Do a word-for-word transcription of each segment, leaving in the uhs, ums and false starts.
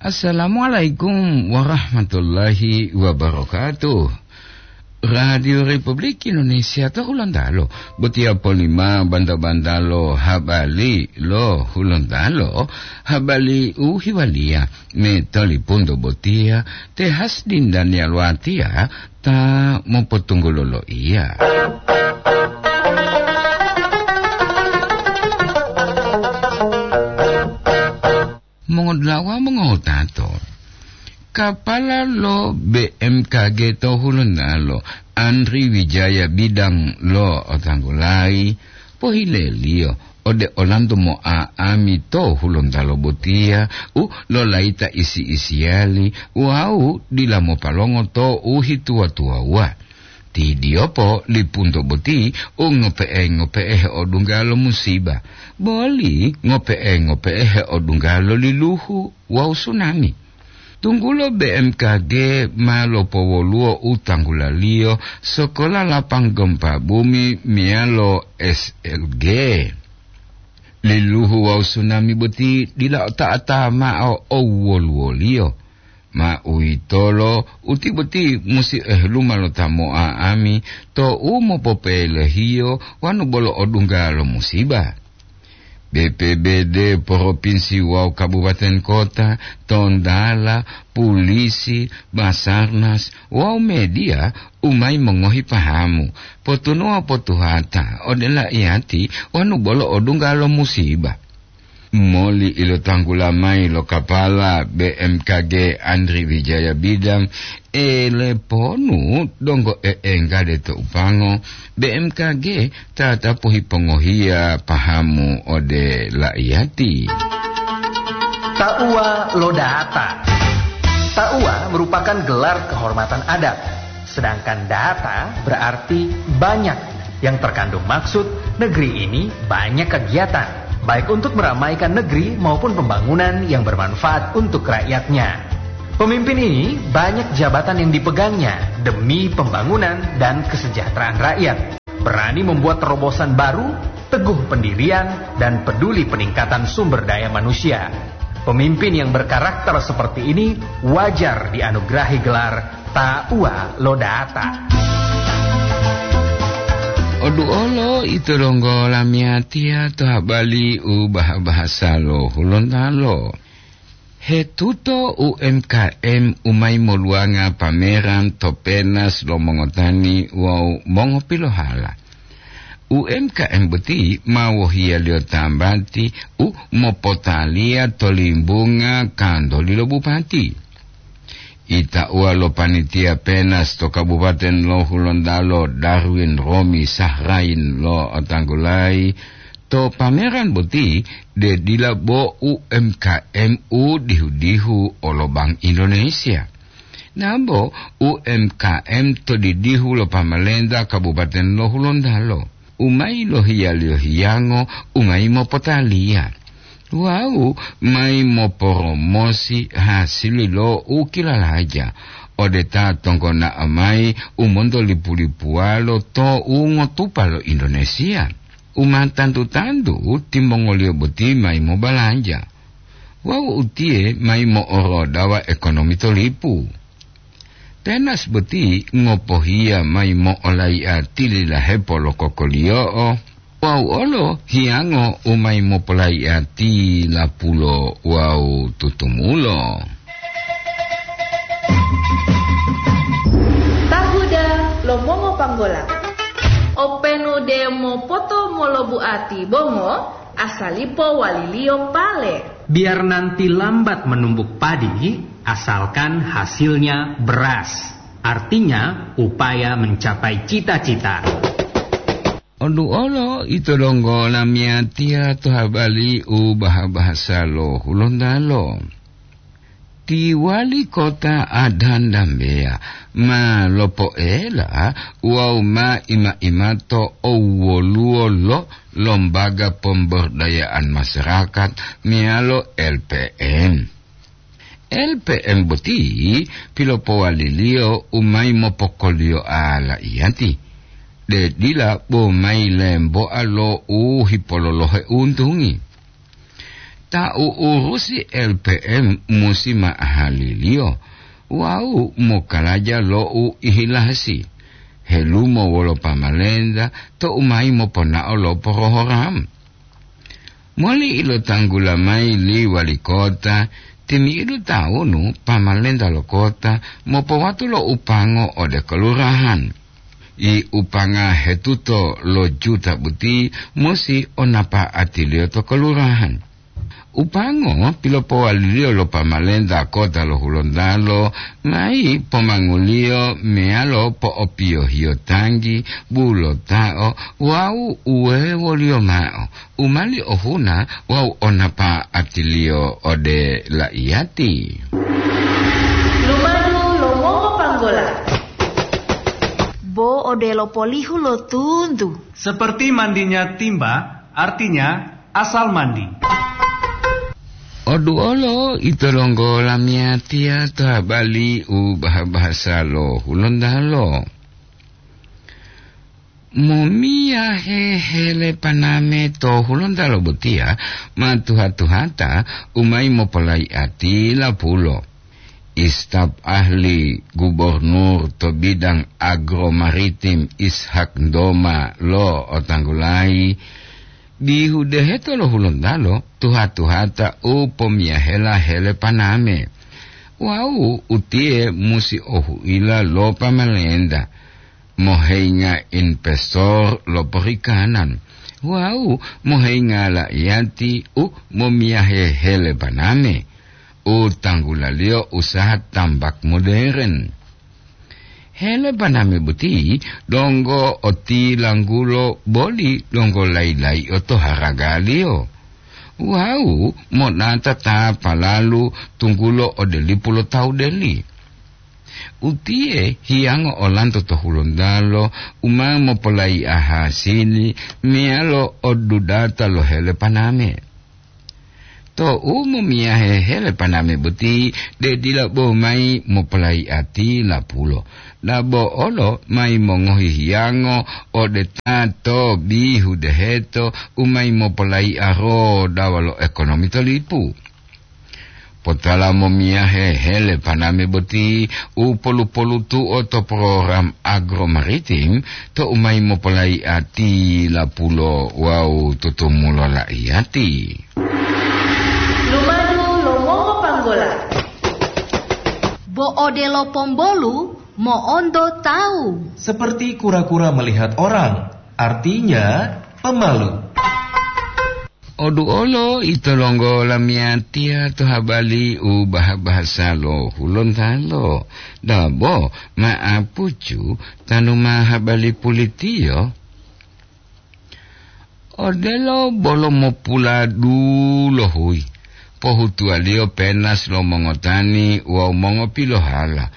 Assalamualaikum warahmatullahi wabarakatuh. Radio Republik Indonesia to Hulontalo, botiya polima banta-bantalo habari lo Hulontalo, habari u hiwaliya me tolipunto botiya, te Hasdin Daniel Watiya ta mopotunggulo loiya. Mongodulawa mongotato, kapala lo B M K G to Hulontalo, Andri Wijaya Bidang lo otanggulayi, pohileliyo ode olanto mo'a'ami to Hulontalo botiya u lolayita isi-isiyali wawu dila mopalongo to u hituwa-tuwawuwa. Ti diyopo lipunto boti u ngope'e-ngope'e heodungga lo musiba, boli ngope'e-ngope'e heodungga lo liluhu wawu sunami. Tunggulo B M K G ma lopowoluwo u tanggulaliyo sokola lapang gempa bumi meyalo S L G. Liluhu wawu sunami boti dila ota'a-ta'a mao owoluwoliyo. Ma uwitolo, uti boti musi eheluma lo ta mo'a'ami to u mopopelehiyo wanu bolo odungga lo musiba. B P B D, propinsi wawu kabupaten kota, tondala, pulisi, Basarnas, wawu mediya u mayi mongohi pahamu, potunuwa potuhata ode laiyati wanu bolo odungga lo musiba. Moli ilotanggula mayi lo kapala B M K G Andri Wijaya Bidang, eleponu donggo e'enggade to upango, B M K G tatapu hipongohiya pahamu ode laiyati. Tauwa lo data. Tauwa merupakan gelar kehormatan adat. Sedangkan data berarti banyak, yang terkandung maksud negeri ini banyak kegiatan, baik untuk meramaikan negeri maupun pembangunan yang bermanfaat untuk rakyatnya. Pemimpin ini banyak jabatan yang dipegangnya demi pembangunan dan kesejahteraan rakyat. Berani membuat terobosan baru, teguh pendirian, dan peduli peningkatan sumber daya manusia. Pemimpin yang berkarakter seperti ini wajar dianugerahi gelar Tauwa lo Data. Oduolo ito donggo lamiyatiya to habari u baha-bahasa lo Hulontalo. Hetuto U M K M u mayi moluwanga pameran to penas lo mongotani wawu mongopilohala. U M K M boti ma wohiyaliyo tambati u mopotaliya to limbunga kantoli lo bupati. Itauwa lo panitia penas to Kabupaten lo Hulontalo, Darwin Romi Sahrain lo otanggulayi, to pameran boti de dila bo U M K M u dihu-dihu olo Bank Indonesia. Nabo U M K M to didihu lo pamalenta Kabupaten lo Hulontalo, u mayi lohiyaliyo hiyango u mayi mopotaliya wawu mayi moporomosi hasili lo u kilalaja ode ta tonggona'o mayi u monto lipu-lipuwalo to u ngotupa lo Indonesia. U ma tantu-tantu timongoliyo boti mayi mobalanja wawu utiye mayi mo'orodawa ekonomi to lipu. Penas boti ngopohiya mayi mo'olaiya tililahepo lo kokoliyo'o wawu olo hiyango u mayi mopolaiya tilapulo wawu tutumulo. Tahuda lo mongopanggola. Openu de mopoto molobuati bongo, asalipo waliliyo pale. Biar nanti lambat menumbuk padi, asalkan hasilnya beras. Artinya, upaya mencapai cita-cita. Oduolo ito donggo lamiyatiya to habari u baha-bahasa lo Hulontalo. Ti wali kota Adan Dambeya ma lopoela wawu ma ima-imato owoluwo lo Lombaga Pemberdayaan Masyarakat meyalo L P M. L P M boti pilopowaliliyo u mayi mopokoliyo alaiyati, de dila bo mayi lemboa lo u hipololohe untungi. Ta u'urusi L P M musi ma'ahaliliyo wawu mokalaja lo u ihilasi, helumo wolo pamalenta to u mayi moponao lo porohoram. Moli ilotanggula mayi li wali kota, timi'idu tawunu pamalenta lo kota mopowatu lo upango ode kelurahan. I upanga hetuto lo juta boti musi o napa'atiliyo to kelurahan. Upango pilopowaliliyo lo pamalenta kota lo Hulontalo mayi pomanguliyo meyalo po'opiyohiyo tanggi, bulota'o wawu uwewoliyo mao u mali ohuna wawu o napa'atiliyo ode la'iyati. Lumadu lo mongopanggola. Bo odelo polihu lo tuntu. Seperti mandinya timba, artinya asal mandi. Oduolo ito donggo lamiyatiya to habali u baha-bahasa lo Hulontalo. Momiyahe hele paname to Hulontalo botiya ma tuha-tuhata u mayi mopolayi'ati lapulo. Istaf ahli gubernur to bidang agromaritim Ishak Doma lo otanggulayi, bihu deheto lo Hulontalo tuha-tuhata u pomiyahela hele paname. Wawu utiye musi ohuila lo pamalenta, moheinga investor lo perikanan, wawu moheinga la'iyati u momiyahe hele paname, u tanggulaliyo usaha tambak moderen. Hele paname boti donggo otilanggulo boli donggo layi-layi'o to haragaliyo. Wawu monata ta palalu tunggulo ode lipu lo tawu deli. Utiye hiyango olanto to Hulontalo u ma mopolayi'a hasili meyalo odudata lo hele paname. To u momiyahe hele paname boti, de dila bo mayi mopolayi'ati lapulo. Dabo olo mayi mongohi hiyango ode ta to bihu deheto u mayi mopolayi'a rodawa lo ekonomi to lipu. Potala momiyahe hele paname boti u polu-polutu'o to program agromaritim to u mayi mopolayi'a tilapulo wawu tutumulo la'iyati. Lumadu lo mongopanggola. Bo odelo pombolu mo'onto tawu. Seperti kura-kura melihat orang, artinya pemalu. Oduolo ito donggo lamiyatiya to habali u baha-bahasa lo Hulontalo. Dabo ma'apucu tanu ma habali pulitiyo. Odelo bolo mopuladu lo huyi, pohutuwaliyo penas lo mongotani wawu mongopilohala.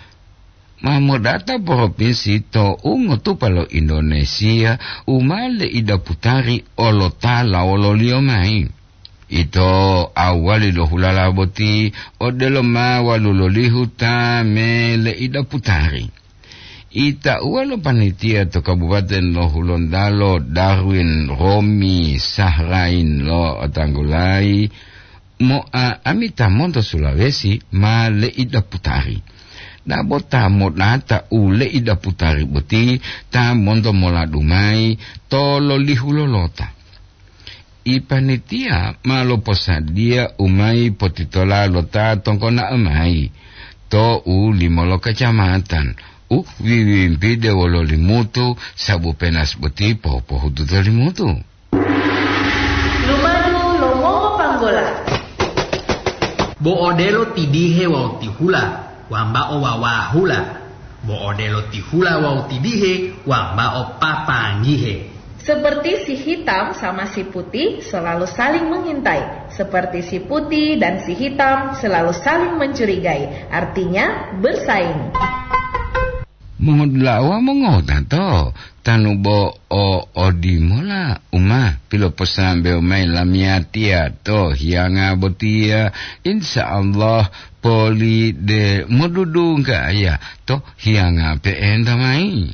Ma modata propinsi to ungotupa lo Indonesia u ma leidaputari olotala wololiyo mayi. Ito awali lo hulala boti odelo ma walulolihu ta me leidaputari. Itauwa lo panitia to Kabupaten lo Hulontalo Darwin Romi Sahrain lo otanggulayi, moa ami ta monto Sulawesi ma leidaputari. Dabo ta modata u leidaputari boti ta monto moladu mayi to lolihu lolota. Ipanitiya ma loposadiya u mayi potitola lo ta tongkona'o mayi to u limo lo kacamatan u wiwimpide wolo limutu sabu penas boti pohupohutu to limutu. Lumadu lo mongopanggola. Bo odelo tidihe wawu tihula, wambao wawahula. Bo odelo tihula wawu tidihe, wambao papanggihe. Seperti si hitam sama si putih selalu saling mengintai, seperti si putih dan si hitam selalu saling mencurigai, artinya bersaing. Mongodula'a wawu mongotato, tanu bo o odimola u ma piloposambewo mayi lamiyatiya to hiyanga botiya, insya Allah poli de modudunggaya to hiyanga pe'enta mayi.